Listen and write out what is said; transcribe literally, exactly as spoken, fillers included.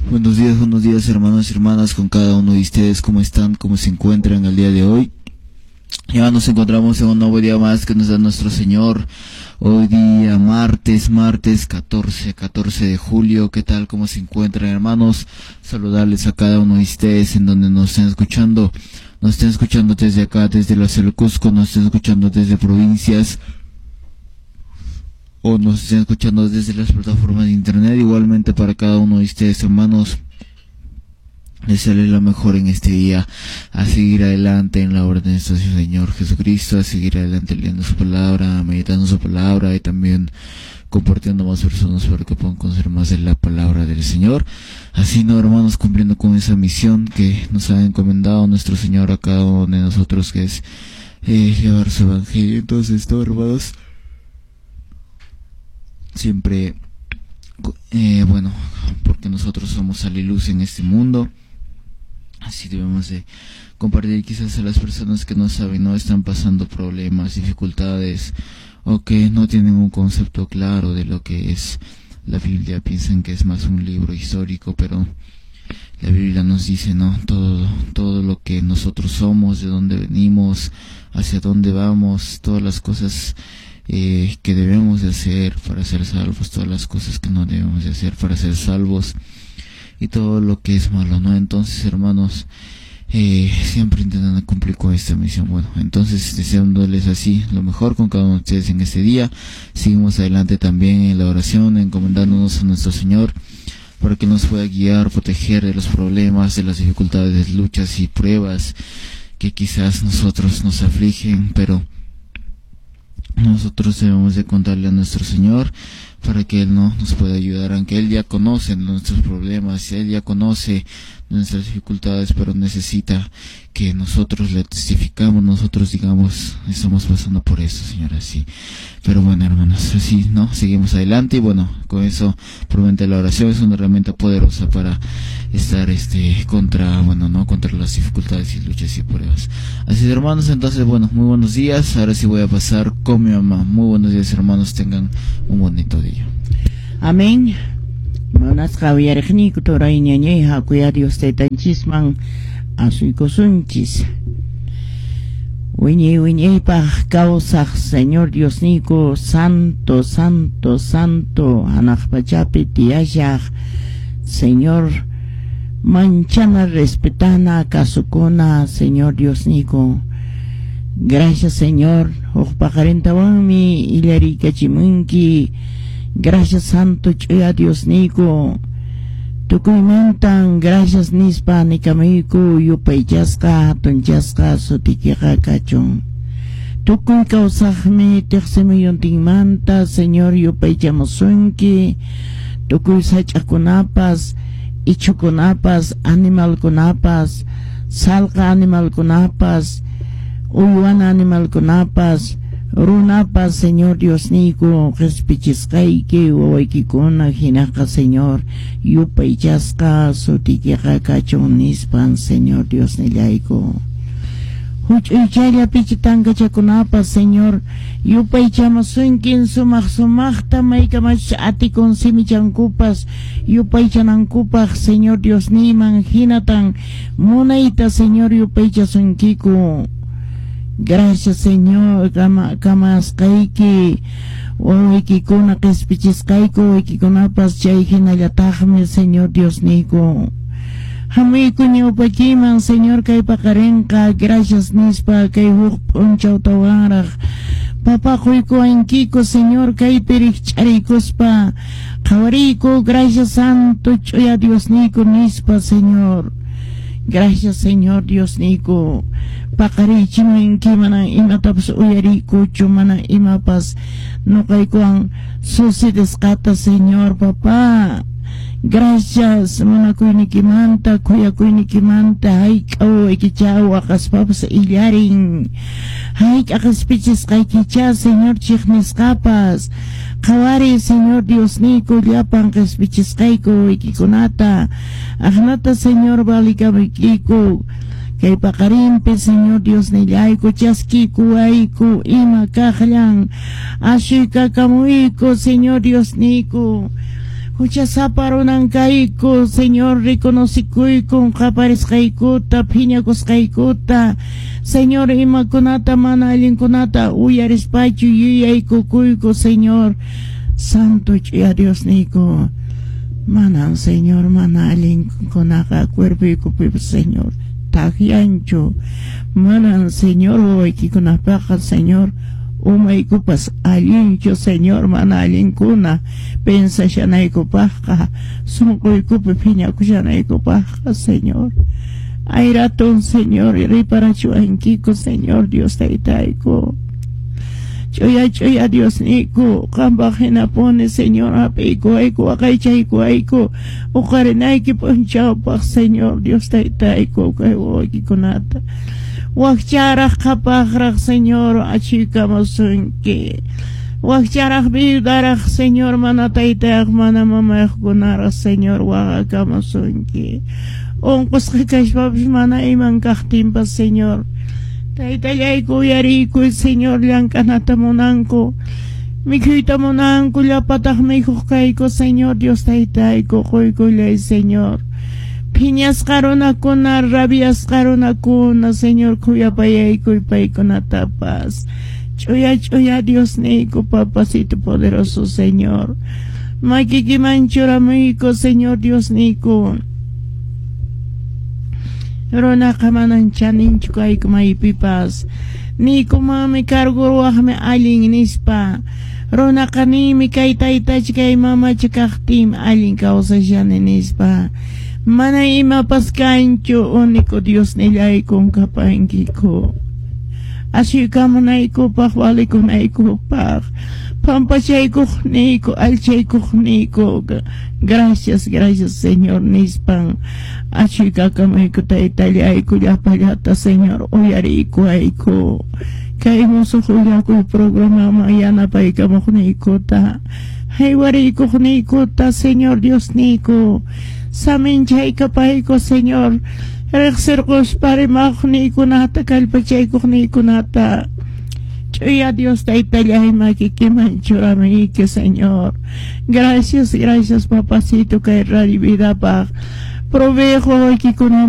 Buenos días, buenos días hermanos y hermanas, con cada uno de ustedes, ¿cómo están? ¿Cómo se encuentran el día de hoy? Ya nos encontramos en un nuevo día más que nos da nuestro Señor. Hoy día martes, martes catorce, catorce de julio. ¿Qué tal? ¿Cómo se encuentran, hermanos? Saludarles a cada uno de ustedes en donde nos estén escuchando. Nos estén escuchando desde acá, desde la ciudad de Cusco, nos estén escuchando desde provincias o nos estén escuchando desde las plataformas de internet. Igualmente para cada uno de ustedes, hermanos, desearles lo mejor en este día, a seguir adelante en la obra de nuestro Señor Jesucristo, a seguir adelante leyendo su palabra, meditando su palabra y también compartiendo más personas para que puedan conocer más de la palabra del Señor. Así, no, hermanos, cumpliendo con esa misión que nos ha encomendado nuestro Señor a cada uno de nosotros, que es eh, llevar su evangelio. Entonces, todo, hermanos, siempre, eh, bueno, porque nosotros somos sal y luz en este mundo, así debemos de compartir quizás a las personas que no saben, no están pasando problemas, dificultades, o que no tienen un concepto claro de lo que es la Biblia. Piensan que es más un libro histórico, pero la Biblia nos dice, ¿no?, todo, todo lo que nosotros somos, de dónde venimos, hacia dónde vamos, todas las cosas eh, que debemos de hacer para ser salvos, todas las cosas que no debemos de hacer para ser salvos, y todo lo que es malo, ¿no? Entonces, hermanos, eh, siempre intentando cumplir con esta misión. Bueno, entonces, deseándoles así lo mejor con cada uno de ustedes en este día. Seguimos adelante también en la oración, encomendándonos a nuestro Señor para que nos pueda guiar, proteger de los problemas, de las dificultades, luchas y pruebas que quizás nosotros nos afligen, pero nosotros debemos de contarle a nuestro Señor para que Él no nos pueda ayudar, aunque Él ya conoce nuestros problemas, Él ya conoce nuestras dificultades, pero necesita que nosotros le testificamos, nosotros digamos, estamos pasando por eso, Señor, así. Pero bueno, hermanos, así, ¿no? Seguimos adelante y bueno, con eso, promete la oración es una herramienta poderosa para estar, este, contra, bueno, ¿no? Contra las dificultades y luchas y pruebas. Así es, hermanos, entonces, bueno, muy buenos días. Ahora sí voy a pasar con mi mamá. Muy buenos días, hermanos, tengan un bonito día. Amén. Munasqa uyariqniyku turay ñañay, hakuya Dios taytanchisman asuykusunchis. Wiñay wiñaypaq kawsaq Señor Diosniyku, santo, santo, santo, hanaq pachapi tiyashaq Señor, manchana, respetana, kasukuna, Señor Diosniyku. Gracias, Señor. Huk paqarintawanmi illariykachimunki. Gracias, Santo Chuya Diosniyku. Tukuymantan gracias nispa nikamuyku, yupaychasqa, hatunchasqa sutikiqa kachun. Tukuy kawsaqmi tiqsimuyuntinmanta, Señor, yupaychamusunki. Tukuy sach'akunapas, ichhukunapas, animalkunapas, salqa animalkunapas, uywana animalkunapas, runapas, Señor Diosniyku, qhispichisqayki wawaykikuna hinaqa, Señor, yupaychasqa sutikiqa kachun nispan, Señor Diosnillayku. Huch'uychalla pichi tankachakunapas, Señor, yupaychamusunkin sumaq sumaqta maykamachus atikun simichankupas yupaychanankupaq, Señor Diosniyman hinatan munayta, Señor, yupaychasunkiku. Gracias, Señor, kama kamasqayki wawaykikuna qhispichisqayku wawaykikunapas chay hinallataqmi, Señor Diosniyku. Hamuyku ñawpakiman, Señor, kay paqarinqa, gracias nispa kay huk p'unchawtawanraq papaquykuwankiku, Señor, kaypi rikch'ariykuspa qhawariyku, gracias, Santo Ch'uya Diosniyku nispa, Señor. Gracias, Señor Diosniyku. Paqarichimunki mana imatapas uyariykuchu, mana imapas nuqaykuwan sucedesqata, Señor, papá. Gracias, munakuynikimanta, khuyakuynikimanta, hayk'a wawaykicha waqaspapas illarin. Hayk'a qhispichisqaykicha, Señor, chiqnisqapas. Qhawariy, Señor Diosniyku, llapan qhispichisqayku wawaykikunata. Aqnata, Señor, valikamuykiku. Kay paqarinpi, Señor Diosnillayku, chaskikuwayku ima kaqllan asuykakamuyku, Señor Diosniyku. Huchasapa runan kayku, Señor, reconocikuykun qaparisqaykuta, phiñakusqaykuta. Señor, imakunata mana allinkunata uyarispachu yuyaykukuyku, Señor. Santo ch'uya Diosniyku. Manan, Señor, mana allinkunaqa cuerpoykupipas, Señor, takyanchu. Manan, Señor, wawaykikunapaqqa, Señor, umaykupas allinchu, Señor, mana allinkuna pensashanaykupaqqa, sunquykupi phiñakushanaykupaqqa, Señor. Ayratun, Señor, riparachiwankiku, Señor, Dios taytayku. Ch'uya ch'uya Diosniyku, qampaq hinapuni, Señor, hap'iykuwayku, waqaychaykuwayku, uqarinayki p'unchawpaq, Señor, Dios taytayku, kay wawaykikunata. Wakcharaq qhapaqraq, Señor, achuykamusunki. Wakcharaq viudaraq, Señor, mana taytayaq, mana mamayuqkunaraq, Señor, waqakamusunki. Unqusqa kashpapas mana iman kaqtinpas, Señor. Taytallayku uyariykuy, Señor, llank'anata munanku. Mikhuyta munanku, llapataq mikhuq kayku, Señor, Dios taytayku, quykullay, Señor. Phiñasqa runakuna, rabiasqa runakuna, Señor, khuyapayaykuy paykunatapas. Ch'uya ch'uya Diosniyku, papacito poderoso, Señor. Makikiman churamuyku, Señor Diosniyku. Runaqa manan chaninchu kayku maypipas. Niykumanmi cargo ruwaqmi allin nispa. Runaqa niymi kay taytacha kay mamacha kaqtin allin kawsashani nispa. Mana imapas kanchu, único Diosnillaykun kapankiku. Asuykamunaykupaq, valikunaykupaq, pampachaykuqniyku, allchaykuqniyku. Gracias, gracias, Señor, nispan. Asuykakamuyku taytallayku llapallata, Señor, uyariykuwayku. Kay musuq willakuy programaman yanapaykamuqniykuta, haywariykuqniykuta, Señor Diosniyku. Saminchaykapayku, Señor. Riqsirquspa rimaqniykunata, kallpachaykuqniykunata. Ch'uya Dios taytallay makikiman churamuyki, Señor. Gracias, gracias, papacito, kay Radio Vidapaq. Provejo wawaykikunamanta.